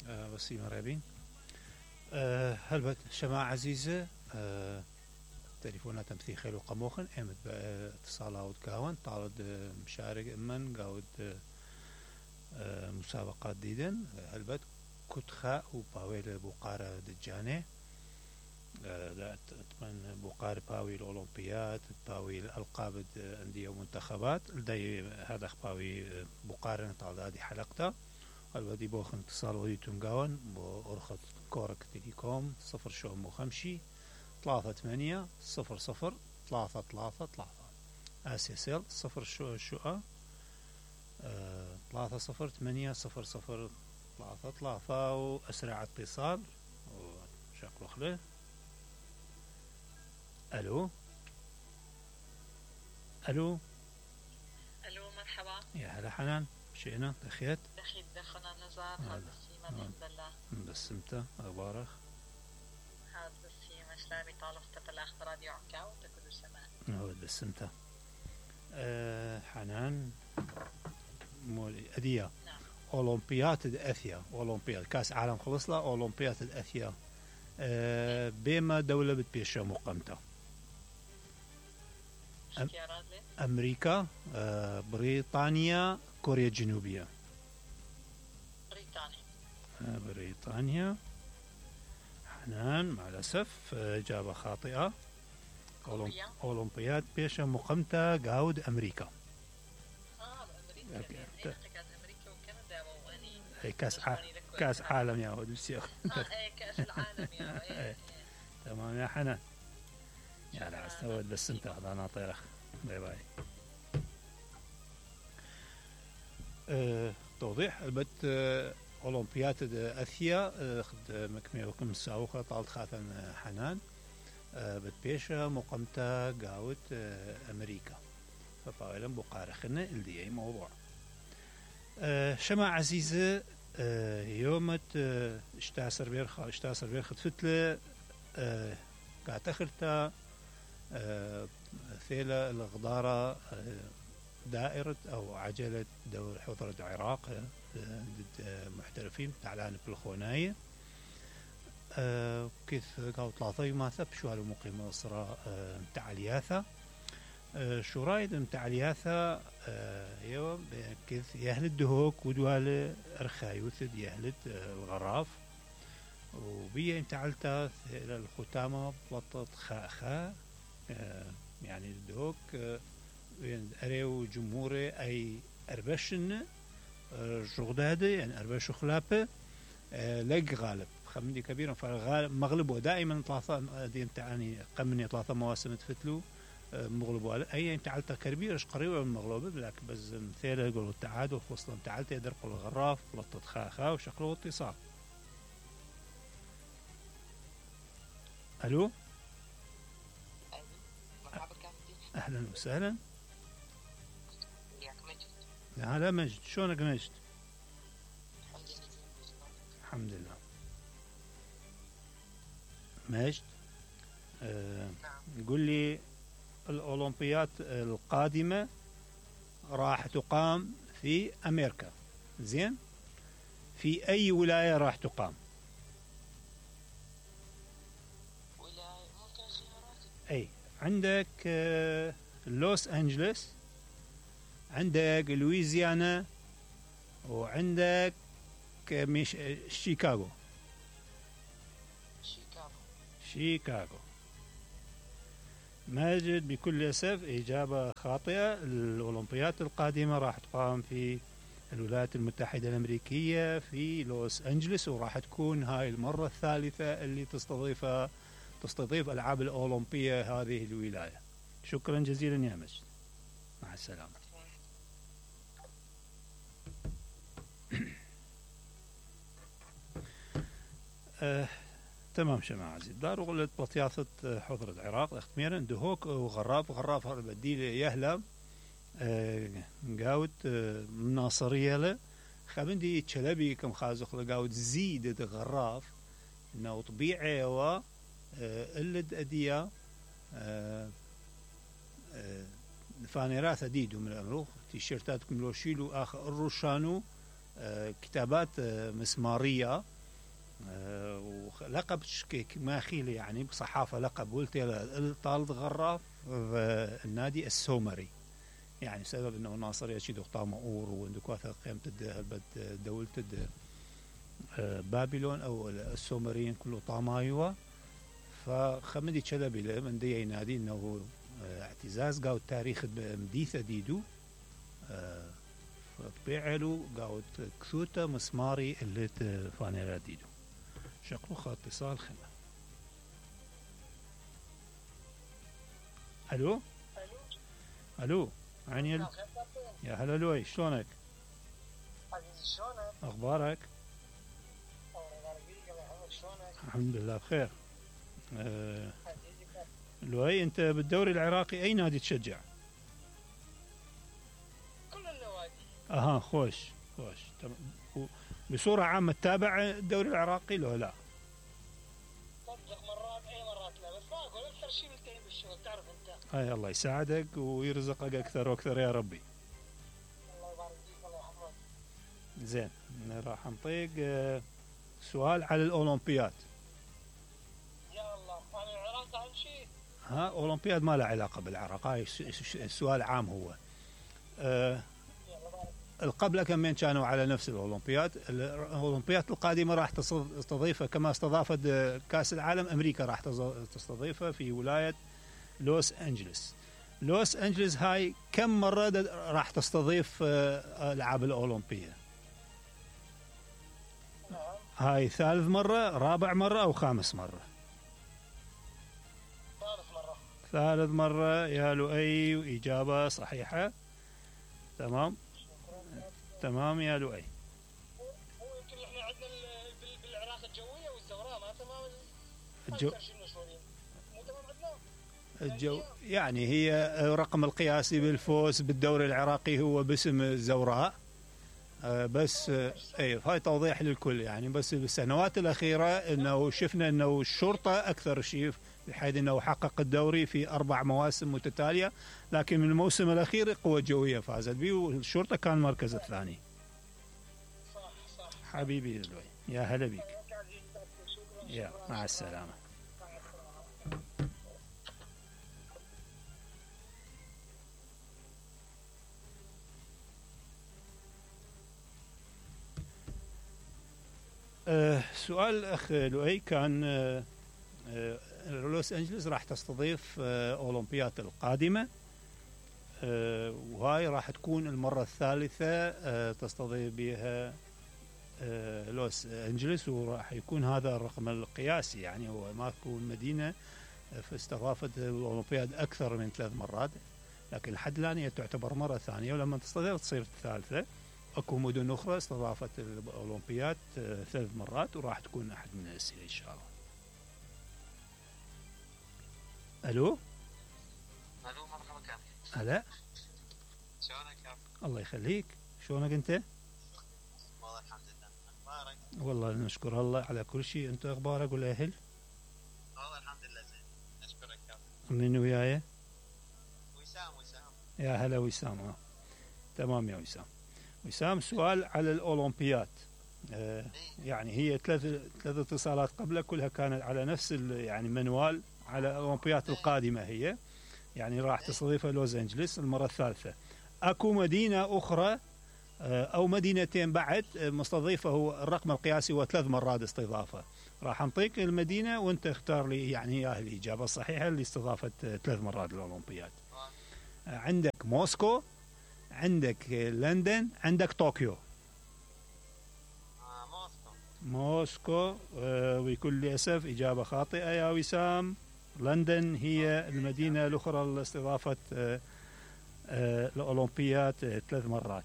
وسيم رابين. هلبت شماعة عزيزة. تليفونات تمثيل خيل وقموخن امت باتصالات كاون طالد مشارك امن قاود مسابقات ديدن هلبت كتخاء وباويل بوقارة دجانة اتمنى بوقارة باوي الأولمبيات باوي الألقاب أندية ومنتخبات لدي هذا باوي بوقارة طالد هذه حلقته الودي بوخن اتصال ودي تنقاون بأرخص كورك تليكوم 0 3 0 0 3 3 3 اسيسل 0 شو 3 0 8 0 0 3 3 واسرع اتصال وشكله خله. الو الو مرحبا يا هلا حنان شئنا دخيت دخلنا نزار هذا السيما الحمد لله بس امتى اخبارك هذا السيما شلامي طالفت بالاخر راديو عكاو تكل سماء هو بس امتى حنان أدية نعم. أولمبياد أثيا أولمبياد كأس عالم خلص له أولمبياد أثيا بما دولة بتبيشها مقامته أمريكا بريطانيا كوريا الجنوبية بريطانيا حنان مع الأسف إجابة خاطئة أولمبياد بيشها مقامته قاود أمريكا أمريكا كأس عالم يا ولد الشيخ كأس العالم يا تمام يا حنان يا لا استوعب بس انت هذا ناطرك باي باي. توضيح البت أولمبياد أثيا خد مكمل وكم ساوخة طالت خاطن حنان بتبيشة مقامته قاوت أمريكا فطاولا بقارخنا اللي أي موضوع. شمع عزيزة يومت اشتاسر بيرخد فتلة قاعد تخرتا ثيلة الغضارة دائرة أو عجلة دور حضرة العراق ضد محترفين تعلان بالخوناية كيف قاو طلاطي ما ثب شو هالمقيمة صراع متاع الياثة شو رايد متاع الياثة يوم كيف يهلد دهوك ودوال أرخايوثد يهلد الغراف وبيا متعلتا الختامة بلطت خاخا يعني الدهوك أريو جمهوري أي أربشن جغدادة يعني أربش خلابة لق غالب خمدي كبير فالغالب مغلب ودائما ثلاثة دي امتعني قمني ثلاثة مواسم تفتلو مغلب أي امتعلتا كبيرش قريبة من المغلوبة لكن بس مثيرة يقولوا التعادل خصلا امتعلتا يدرق الغراف بلطت خاخا وشكله اتصال. ألو أهلا وسهلا هلا مجد شلونك مجد؟ الحمد لله مجد قل لي الأولمبيات القادمة راح تقام في أمريكا زين في أي ولاية راح تقام؟ ولاية ممكن خيارات أي عندك لوس أنجلس عندك لويزيانا وعندك شيكاغو ماجد بكل أسف إجابة خاطئة. الأولمبيات القادمة راح تقام في الولايات المتحدة الأمريكية في لوس أنجلس وراح تكون هاي المرة الثالثة اللي تستضيف ألعاب الأولمبية هذه الولاية. شكرا جزيلا يا مجد مع السلامة. تمام شماعة عزيز دار وغلت بطياثة حضر العراق اختميرا دهوك وغراف هذا بديل يهلا قاوت مناصرية له خبندي تشلبي كم خازق لقاوت زيد غراف انه طبيعي و اللد أدية فانيرات أديدو من الأمروخ تيشيرتات كملوشيلو آخر الروشانو كتابات مسمارية ولقب شكيك ما خيلي يعني بصحافة لقب قلت طالد غراف النادي السومري يعني سبب انه ناصر يشيد طامة اور وندكواثا قيمة دولة بابلون او السومريين كله طامايوا فخمدي تشلبي من دي نادي انه اعتزاز قاو التاريخ مديثة ديدو فبيعلو قاو كثوتا مسماري اللي فانيرا ديدو شكله خط اتصال خنا. الو الو عني يا هلا لوي شلونك؟ عزيزي شلونك؟ اخبارك؟ الحمد لله بخير. لوي انت بالدوري العراقي اي نادي تشجع؟ كل النوادي. اها خوش بصورة عامة تتابع الدوري العراقي لو لا؟ صدق مرات اي مرات لا بس ما اقول اكثر شيء ملتهي بالشغل تعرف انت. اي الله يساعدك ويرزقك اكثر واكثر يا ربي. الله يبارك فيك الله يحفظك. زين راح نطيق سؤال على الاولمبياد. يا الله انا العراق اهم شيء. ها اولمبياد ما له علاقة بالعراق هاي السؤال عام هو. قبل كمين كانوا على نفس الأولمبياد القادمة راح تستضيفها كما استضافت كأس العالم أمريكا راح تستضيفها في ولاية لوس أنجلس هاي كم مرة راح تستضيف ألعاب الأولمبية؟ هاي ثالث مرة رابع مرة أو خامس مرة؟ ثالث مرة يا لؤي وإجابة صحيحة تمام يا لؤي. هو يمكن احنا عندنا بالعراق الجويه والزوراء ما تمام مو تمام عندنا الجو يعني هي رقم القياسي بالفوز بالدوري العراقي هو باسم الزوراء بس اي هاي توضيح للكل يعني بس بالسنوات الاخيره انه شفنا انه الشرطه اكثر شيء بحيث انه حقق الدوري في 4 مواسم متتاليه لكن من الموسم الاخير القوى الجويه فازت به والشرطه كان المركز الثاني. صح حبيبي لؤي يا هلا بك. يا مع السلامه. سؤال الأخ لؤي كان لوس أنجلس راح تستضيف أولمبياد القادمة وهاي راح تكون المرة الثالثة تستضيف بها لوس أنجلس وراح يكون هذا الرقم القياسي يعني هو ما تكون مدينة استضافت الأولمبياد أكثر من 3 مرات لكن لحد الآن هي تعتبر مرة ثانية ولما تستضيف تصير الثالثة. اكو مدن اخرى استضافت الاولمبياد 3 مرات وراح تكون احد من الاسئله ان شاء الله. الو مرحبا كامل. هلا شلونك يا الله يخليك شلونك انت؟ والله الحمد لله اخبارك؟ والله نشكر الله على كل شيء انت اخبارك والاهل؟ والله الحمد لله زين نشكرك يا من وياي؟ وسام يا هلا وسام تمام يا وسام سؤال على الأولمبياد يعني هي 3 اتصالات قبل كلها كانت على نفس يعني منوال على الأولمبياد القادمة هي يعني راح تستضيفها لوس أنجلس المرة الثالثة. أكو مدينة أخرى أو مدينتين بعد مستضيفة هو الرقم القياسي هو 3 مرات استضافة راح نعطيك المدينة وانت اختار لي يعني اياها الإجابة الصحيحة اللي استضافت 3 مرات الأولمبياد. عندك موسكو عندك لندن عندك طوكيو. موسكو بكل أسف إجابة خاطئة يا وسام. لندن هي المدينة الأخرى اللي استضافت الأولمبياد 3 مرات.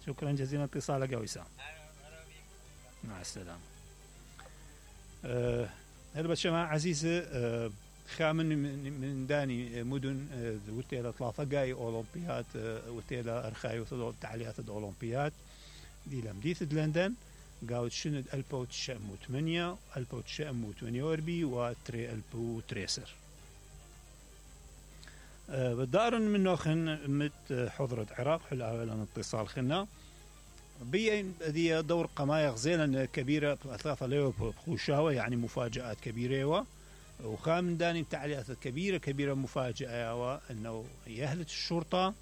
شكرا جزيلا اتصالك يا وسام. مع السلامة. هل بشماعة عزيزة خامن من داني مدن وتيلا 3 جاي أولمبياد وتيلا أرخاي تعليات الأولمبياد دي لمديث لندن قاوت شند 1908 1948 وتري ألبو تريسر بدارن من نوخن مت حضرة عراق حل أولا اتصال خنا بي هذه دور قماية غزيلا كبيرة أثلاثة ليو بخوشاوة يعني مفاجآت كبيرة وخام داني تعليقات كبيرة مفاجأة أنه يهلة الشرطة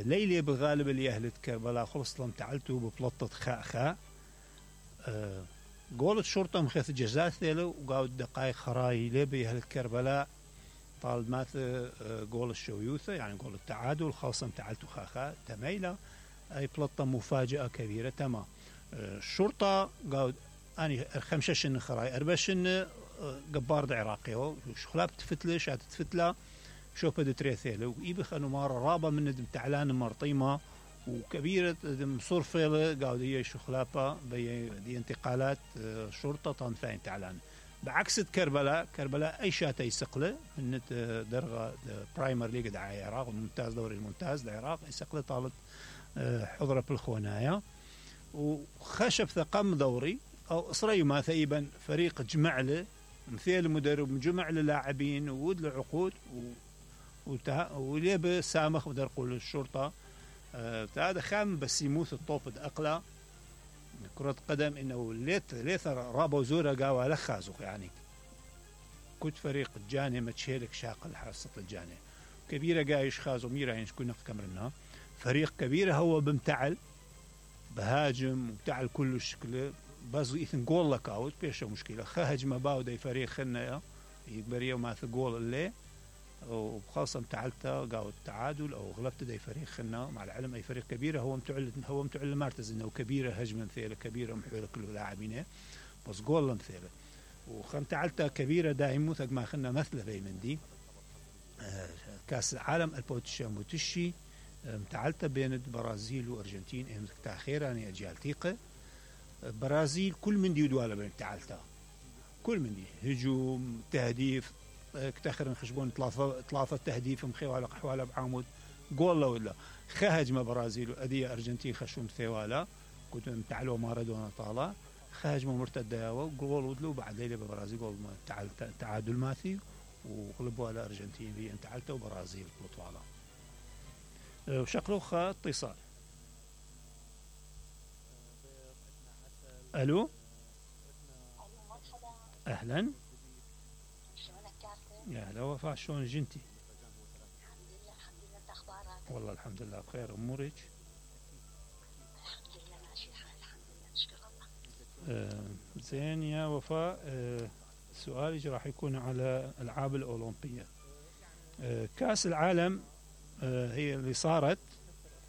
ليلة بالغالب اللي يهلة كربلاء خلص لم تعلتوا ببلطة خاء قولت الشرطة مخيث جزات ثيلو وقاود دقائق خراي ليه بيهلة كربلاء طال ماث قول الشويوثة يعني قول التعادل خاصة تعلتوا خاخا تميلة أي بلطة مفاجأة كبيرة تمام الشرطة قاود أني خمشة خراي أربشن قبار عراقي شخلاب تفتله شات تفتله شو بدي تريثيله ويبخ أنه مارة رابة من دم تعلان مرطيمة وكبيرة دم صرفيله قاود هي شخلابة دي انتقالات شرطة طنفين تعلان بعكس كربلاء أي شات يسقله من درجة برايمر ليج دعاية العراق الممتاز دوري الممتاز العراق يسقله طالت حضرة بالخونايا وخشب ثقم دوري أو إسرائيل ما ثيبا فريق جمع له مثيل مدرب جمع له لاعبين وود له عقود وليبه سامخ بدر قول الشرطة هذا خام بس يموت الطوب أقلا كرة قدم إنه ليث رابا وزورة قاوة لخازوخ يعني كنت فريق الجاني متشيلك شاقل حاسة الجاني كبيرة قايش خازو ميرا يعني شكون نقط كمرنا فريق كبيرة هو بمتعل بهاجم ومتعل كله شكله بس إثن جول لك أوت بيش مشكلة هجمة باودة فريق خلنا يقبريه وما ثقول اللي وخاصة متعلته قاود التعادل أو غلبت دي فريق خلنا مع العلم أي فريق كبيرة هو متعل مرتز إنه كبيرة هجمة مثيلة كبيرة محولة كل لاعبينه بس جول مثيلة وخم تعلته كبيرة دائما ثق ما خلنا مثل في مندي كأس العالم البوتشام وتشي متعلته بين البرازيل وأرجنتين إمسك تأخير يعني أجيال تيقة برازيل كل من دي ودواله بين تعلته كل من دي هجوم تهديف كتاخر خشبون ثلاثة تهديف مخيوالة قحوالة بعمود جول ولا خهجمة برازيل وأدية أرجنتين خشون ثوالة كنت متعلوا مارادونا طالع خهجمة مرتدة وجول ودلو بعد ليلة ببرازيل جول تعادل ماثي وغلبوا على أرجنتين في انتعلته وبرازيل بطوالة وشكله اتصال ألو أهلا يا هلا وفاء شلون جنتي؟ الحمد لله انت اخبارك؟ والله الحمد لله بخير امورك؟ الحمد لله ماشي الحال الحمد لله نشكر الله. زين يا وفاء سؤالي راح يكون على الالعاب الاولمبيه. كاس العالم هي اللي صارت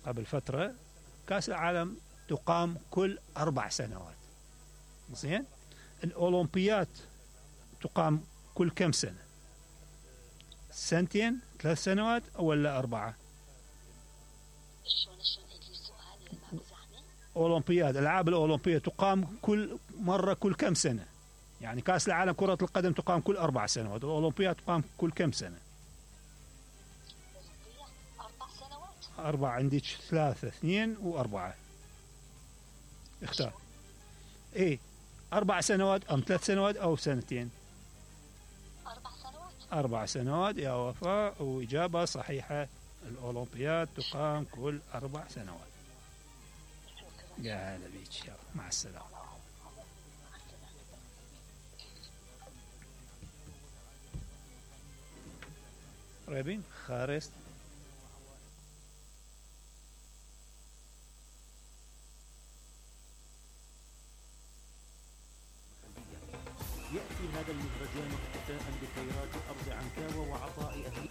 قبل فتره كاس العالم تقام كل 4 سنوات. زين؟ الاولمبيات تقام كل كم سنه؟ 2 سنين 3 سنوات ولا 4؟ شلون اجي السؤال ما بزحمه؟ اولمبياد الالعاب الاولمبيه تقام كل مره كل كم سنه؟ يعني كاس العالم كره القدم تقام كل 4 سنوات، الاولمبياد تقام كل كم سنه؟ 4 سنوات. 4 عندك 3 2 و4 اختار. ايه 4 سنوات ام 3 سنوات او 2 سنين؟ 4 سنوات. 4 سنوات يا وفاء، وإجابة صحيحة. الأولمبياد تقام كل 4 سنوات. يا هلا بيك، يلا مع السلامة. قريبين خارست. يأتي هذا المهرجان احتفاء بخيرات أرض عنكاوى وعطاء أهل